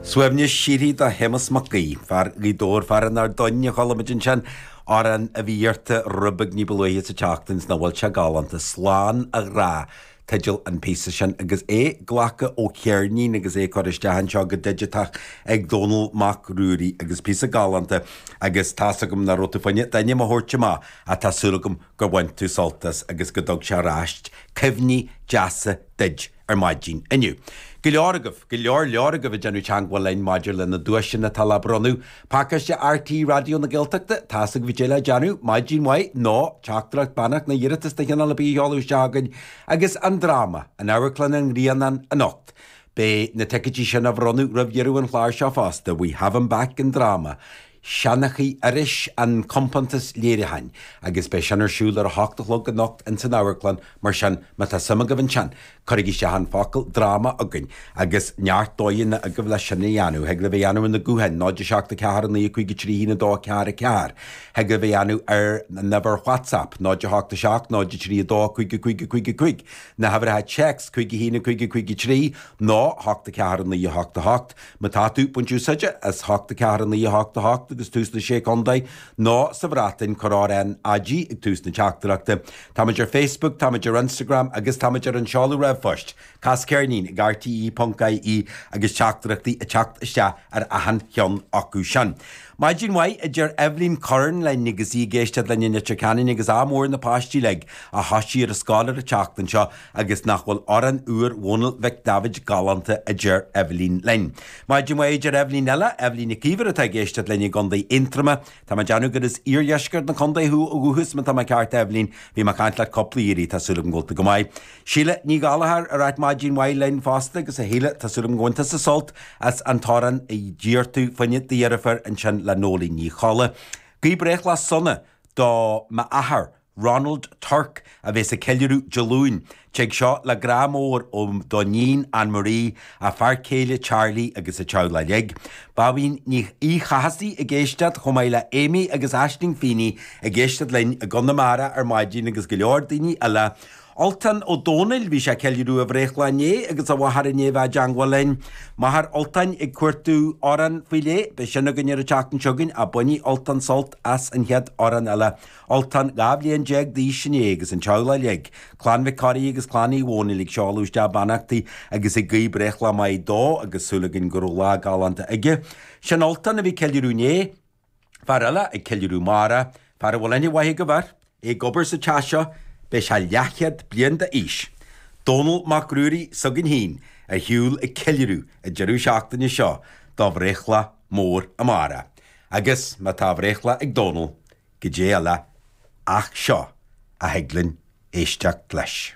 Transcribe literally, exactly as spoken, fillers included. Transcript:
Suaimhneas síoraí do Shéamus Mac Aoidh, fear Ghaoth Dobhair, fear an Ardoyne a chuala muid ansin, amhrán a bhí iarrta rud beag ní ba luaithe sa tseachtain 's nach bhfuil sé galánta, Slán a Ghrá teideal an phíosa sin agus é glactha ó cheirnín agus é curtha isteach anseo go digiteach ag Dónall Mac Ruairí agus píosa galánta agus tá's agam nach raibh tú fá choinne d'ainm a thabhairt amach ach tá súil agam gur bhain tú sult as agus go dtug sé ar ais cuimhní deasa duit ar maidin inniu. Go leor agaibh, go leor leor agaibh ag déanamh teagmháil linn maidir le na duaiseanna atá le bronnadh. Pacáiste RTÉ Raidió na Gaeltachta, tá's agaibh goidé le déanamh, maidin mhaith nó teachtaireacht beannacht nó iarratas de chineál ar bith a sheoladh isteach chugainn agus an dráma, in Amharclann an Ghrianáin anocht. Beidh na ticéidí sin á bhronnadh roimh dheireadh an chláir seo fosta, We Have Him Back an dráma. Seanchaí Iorrais an compántas léiriúcháin agus beidh sin ar siúl ar a hocht a chlog anocht ins an amharclann mar sin má tá suim agaibh ansin cuirigí isteach an focal dráma chugainn agus neart dóigheanna agaibh leis sin a dhéanamh. Thig libh a dhéanamh ar na gutháin, náid a seacht a ceathair a naoi a cúig a trí haon a dó a ceathair a ceathair. Thig libh a dhéanamh ar an uimhir WhatsApp, náid a hocht a seacht náid a trí a dó a cúig a cúig a cúig a cúig. Na huimhreacha téacs, cúig a haon a cúig a cúig a trí nó hocht a ceathair a naoi a hocht a hocht. Má tá tú ag baint úsáide as hocht a ceathair a naoi a hocht a hocht agus tús na Sé Chontae nó sa Bhreatain, cuir RnaG ag tús na teachtaireachta. Táimid ar Facebook, táimid ar Instagram agus táimid ar an seoladh ríomhphoist. Cas ceirnín ag rte ponc ie agus teachtaireachtaí ag teacht isteach ar achan cheann acu sin. Maidin mhaith, a deir Eibhlín Curran linn agus í ag éisteacht linn in Leitir Ceanainn agus ádh mór ar na páistí uilig a thoisigh ar an scoil ar an tseachtain seo agus nach bhfuil amhrán úr Dhónaill Mhic Daibhéid galánta, a deir Eibhlín linn. Maidin mhaith, a deir Eibhlín eile, Eibhlín Nic Íomhair atá ag éisteacht linn i gContae Aontroma. Tá mé ag déanamh gur as iardheisceart na contae thú ó dhúchas má tá mé ceart, a Eibhlín. Bhí mé ag caint leat cúpla iarraidh, tá súil agam go bhfuil tú go maith. Síle Ní Ghallchóir ag ráit maidin mhaith linn fosta agus a Shíle, tá súil agam go bhain tusa sult as an t-amhrán a d'iarr tú fá choinne do dheirfiúr ansin le Nóilín Ní Cholla. Guí breithlá sona do m'athair, Ronald Turk, a bheas ag ceiliúradh Dé Luain. Tig seo le grá mór ó d'iníon Anne Marie, a fear céile Charlie agus a teaghlach uilig. Báibín Ní Uí Chathasaigh ag éisteacht chomh maith le Amy agus Aisling Feeney ag éisteacht linn i gConamara ar maidin agus go leor daoine eile. Ultan Ó Dónaill, bhí sé ag ceiliúradh a bhreithlá inné agus a mháthair i ndiaidh a bheith i dteangmháil linn. Máthair Ultáin ag cuartú amhrán faoi leith, beidh sin againn ar an tseachtain seo chugainn ach bainfidh Ultan sult as an chéad amhrán eile. Ultan dhá bhliain déag d'aois inné agus an teaghlach uilig, Clann Mhic Corraidh agus Clann Uí Dhónaill ag seoladh isteach beannachtaí agus ag guí breithlá maith dó agus súil againn go raibh lá galánta aige. Sin Ultan a bhí ag ceiliúradh inné. Fear eile ag ceiliúradh amárach, fear a bhfuil aithne mhaith agaibh air, é ag obair sa teach seo, beidh sé leathchéad bliain d'aois. Dónall Mac Ruairí s'againn féin ar shiúl ag ceiliúradh an deireadh seachtaine seo dá bhreithlá mór amárach. Agus má tá a bhreithlá ag Dónall, goidé eile ach seo a thig linn éisteacht leis.